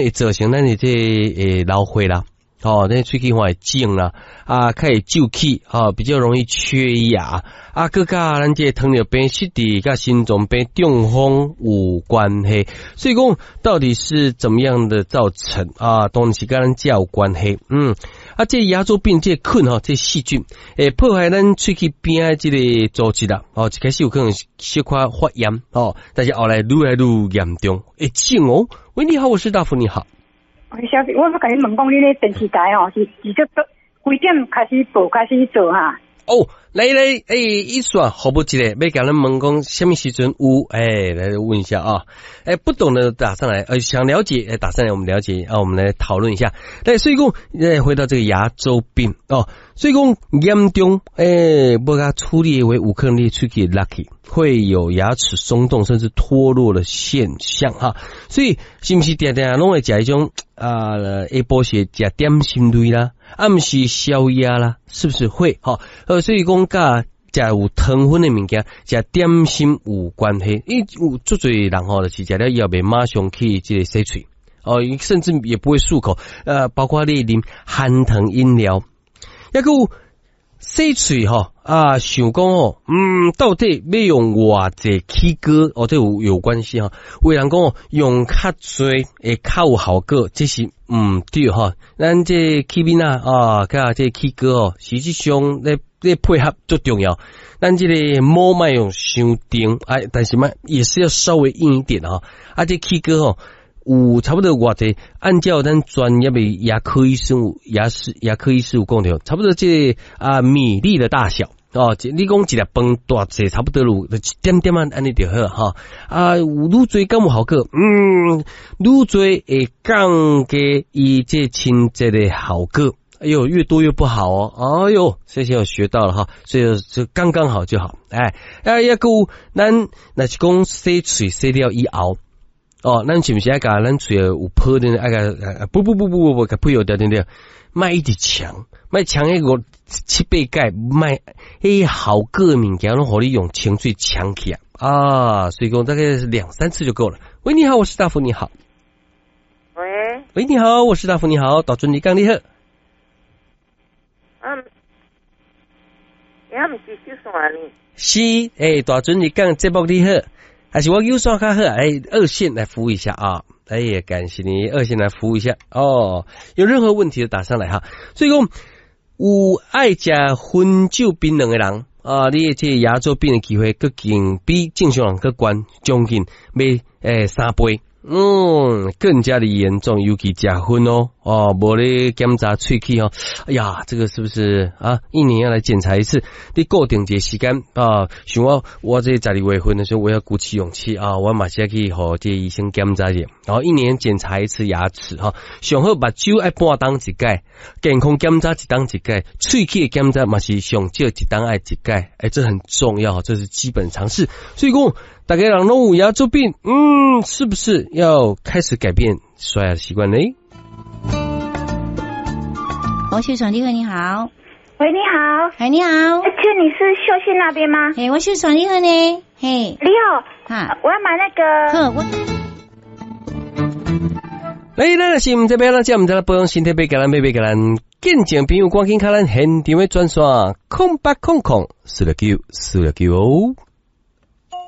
會造成咱的這個老化啦，吼，咱喙齒會腫啦，啊，較會皺起，吼，比較容易缺牙，啊，閣佮咱這個糖尿病、失智佮心臟病、中風有關係。所以講，到底是怎麼樣的造成啊？當然是佮咱食有關係。啊，這個牙周病這個菌吼，這細菌會破壞咱喙齒邊的這個組織啦，哦，一開始有可能小可發炎，哦，但是後來愈來愈嚴重，會腫哦。喂，你好，我是大福，你好。小姐，我欲共你問講，恁咧電視台哦，是這幾點開始播，開始做哈？哦，來來，欸，一線服務一下，欲共咱問講啥物時陣有？欸，來問一下啊，欸，不懂的打上來，想了解，欸，打上來，我們了解啊，我們來討論一下。來，所以講，來回到這個牙周病哦，所以講嚴重，欸，無共處理的話，有可能你喙齒落去，會有牙齒鬆動甚至脫落的現象哈。所以是毋是定定攏會食彼種啊？下晡時食點心類啦，啊，毋是宵夜啦，是不是會？哈，所以講佮食有糖分的物件，食點心有關係。因為有足濟人吼，就是食了以後袂馬上去這個洗喙，哦，甚至也不會漱口。包括你啉含糖飲料，抑閣有洗喙吼啊，想講哦，到底欲用偌濟齒膏哦，這有關係哈。有人講哦，用較濟會較有效果，這是毋對哈。咱這齒面仔啊，佮這齒膏哦，實際上咧配合足重要。咱這個毛莫用傷重，哎，但是嘛也是要稍微硬一點哈。啊，這齒膏吼，有差不多偌濟，按照咱專業的牙科醫生、牙師、牙科醫師有講著，差不多這個啊米粒的大小哦。你講一粒飯大細差不多有一點點仔按呢就好哈。啊，有愈濟敢有效果？愈濟會降低伊這清潔的效果。哎喲，越多越不好哦。哎喲，這些我學到了哈，所以就剛剛好就好。哎，啊，抑閣有咱若是講洗喙洗了以後。哦，咱是毋是愛共咱喙有泡的，愛共不不不不不不，共噴掉對對？莫一直沖，莫沖彼五七八擺，莫彼效果的物件攏予你用清水沖起來啊！所以講大概兩三次就夠了。喂，你好，我是大福，你好。喂。喂，你好，我是大福，你好，大尊你講你好。啊，也毋是小線呢？是，欸，大尊你講節目你好。還是我有線較好，哎，二線來服務一下啊！哎呀，感謝你二線來服務一下哦。有任何問題就打上來哈。所以講，有愛食薰酒檳榔的人啊，你這個牙周病的機會閣更比正常人閣懸，將近欲3倍，更加的嚴重，尤其食薰哦，哦，無咧檢查喙齒哦，哎呀，這個是不是啊？一年要來檢查一次，你固定一個時間啊，像我，我這12月份的時候，我要鼓起勇氣啊，我嘛是愛去予這個醫生檢查一下，然後一年檢查一次牙齒哈，上好目睭愛半冬一擺，健康檢查一冬一擺，喙齒的檢查嘛是上少一冬愛一擺，欸，這很重要，這是基本常識。所以講，大家人攏有牙周病，是不是要開始改變刷牙的習慣呢？王秀爽，你好，你好。喂，你好。哎，你好。請問你是秀信那邊嗎？嘿，我秀爽，你好呢。嘿。你好。哈。我要買那個。好，我。來，咱是毋知欲按怎食，毋知保養身體，欲共咱欲欲共咱見證朋友，趕緊敲咱現場的專線，0800469469哦。